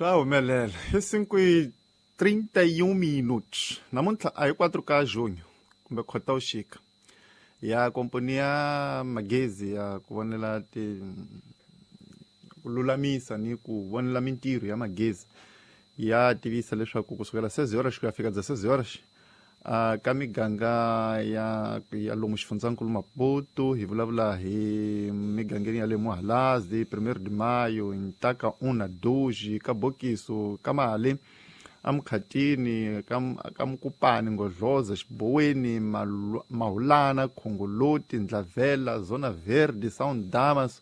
Swa humelela i 5:31 minutos. Namuntlha a hi 4 ka junho kumbe Khotavuxika ya komponi ya magezi ya ku vonela ti ku lulamisa ni ku vonela mintirho ya magezi ya tivisa leswaku kusukela 6 horas ku ya fika 16 horas ka miganga ya lomu xifundzankulu Maputo. Hi vulavula hi migangeni ya le Muhalazi, 1 de Maio, Ntaka 1 2, ka Bokiso, ka Mali, Amkhatini, ka Mukupani, Ngodloza, Xiboweni, Mahulana, Khongoloti, Ndlavela, Zona Verde, Sound Damas,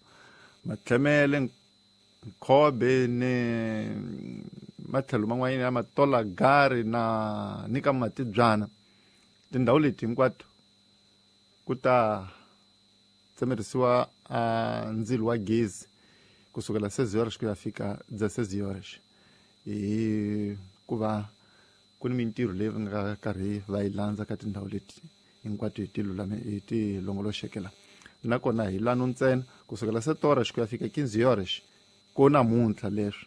Matlhemele, Nkhobe ni matlhelo man'wanyana ya Matola Gari na ni ka Matibyana. Tindhawu leti hinkwato ku ta tsemerisiwa ndzilo wa gezi kusukela 6 horas ku ya fika 16 horas, hi ku va ku ni mintirho leyi va nga karhi va yi landza ka tindhawu leti hinkwato hi ti lulame hi ti longoloxekela. Nakona hi lano ntsena kusukela 7 horas ku ya fika 15 horas ko namuntlha leswi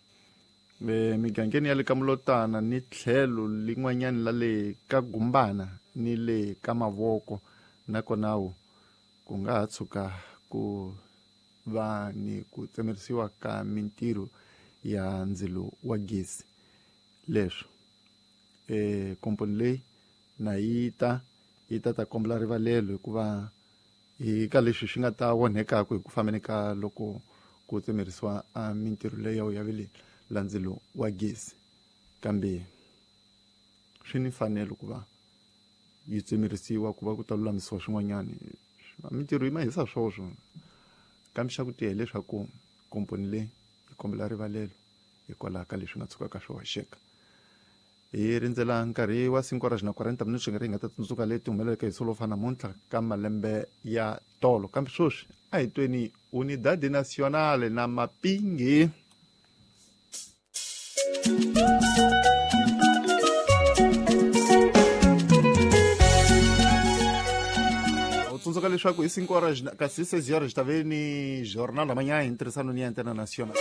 migangeni ya le ka Mulotana ni tlhelo lin'wanyani la le ka Gumbana ni le ka Mavoko, nakona ku nga ha tshuka ku va ni ku tsemerisiwa ka mintirho ya ndzilo wa gezi. Leswi komponi leyi na yi ta kombela rivalelo hikuva hi ka leswi swi nga ta onhekaka hi ku fambeni ka loko ku tsemerisiwa mintirho leyi ya vele la ndzilo wa gezi, kambe swi ni mfanelo ku va yi tsemerisiwa ku va ku ta lulamisiwa swin'wanyani. Mintirho yi mahisa swoswo, kambe xa ku tiya hileswaku komponi leyi yi kombela rivalelo hikwalaho ka leswi nga tshukaka swi hoxeka. Hi rindzela nkarhi wa 5 horas na 40 minutos nkarhi hi nga ta tsundzuka leti humeleleke hi solofa namuntlha ka malembe ya tolo, kambe sweswi a hi tweni Unidade Nacional na Mapingi. U tsundzuka leswaku hi 5 horas kasi 6 horas ta ve ni jornal lamanyana hi ntirhisano ni ya International.